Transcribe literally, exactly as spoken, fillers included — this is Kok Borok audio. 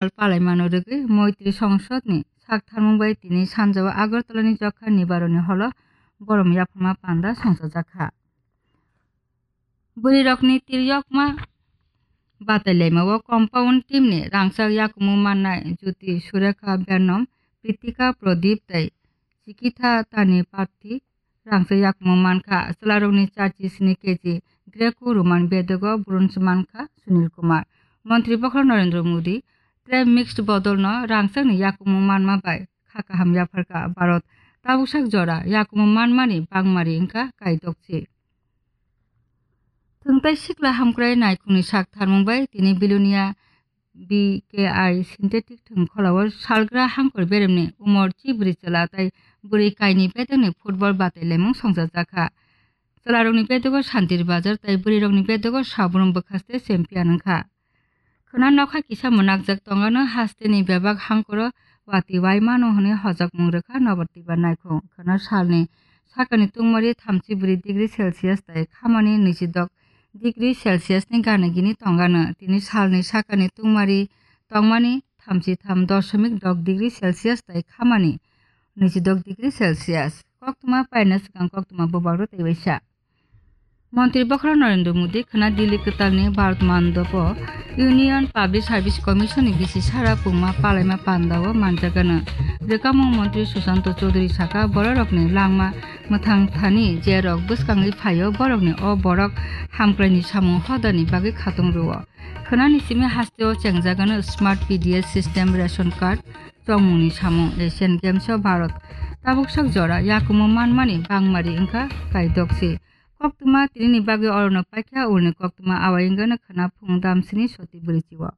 palaimano rwgwi Moitri Songsodni sak tharmung bai tini sanjao Agartalani Jokha Nibaroni holo borom yapharma panda songchajakha. Bwrwirokni tiryokma batailaimao compound teamni rangchak yakumu mannai Jyoti Surekha Bernom, Pritika Pradip tei Chikitha Tani Parthi rangchak yakumu mankha. Chwlarokni charchi sni keji Greco Roman bedogo bronze mankha Sunil Kumar. Montri bokhorok Narendra Modi tei mixed bodolno rangchakni yakumu manma bai kha kaham yapharkha Bharat. Tabuksak jora yakumu manmani bangmari wngkha kaidokchi. Thwngtai sikla hamkrai naikhungni sak tharmung bai tini Bilonia B K I synthetic thwng kholao salgra hangkor beremni umor chibri chwla tei bwrwi kaini bedekni football batailaimung songchajakha. Chwlarokni bedogo Santir Bazar tei bwrwirokni bedogo Sabrum bwkhaste champion wngkha. Khwna nokha kisa mwnakjak tongano hasteni bebak hangkoro wati waimano hwnwi hojakmung rwkha Nobatiba naikhung. Khwna salni sakani tungmari thamchi bwrwi degree Celsius tei khamani nijidok degree Celsius ni gana gini tongano. Tini salni sakani tungmari tongmani thamchi tham doshomik dok degree Celsius tei khamani nijidok degree Celsius. Koktwma paina swkang koktwma bubagro tei waisa. Montri bokhorok Narendra Modi khwna Delhi kwtalni Bharat Mandopo Union Public Service Commission ni bisi sara pungma palaima pandao manjagano. Rwkamung Montri Sushanta Chowdhury saka bororokni langma mwthang thani je rok bwskangwi phaio borokni o borok hamkraini samung hodani bagwi khatung rwo. Khwnani simi hasteo chengjagano smart P D S system, ration card, chongmungni samung. Asian Games o Bharat tabuksak jora yakumu manmani bangmari wngkha kaidokchi. Koktwma tinini bagwi orono paikha ulni koktwma awai wngano khwna phung damsini soti bwrwichio.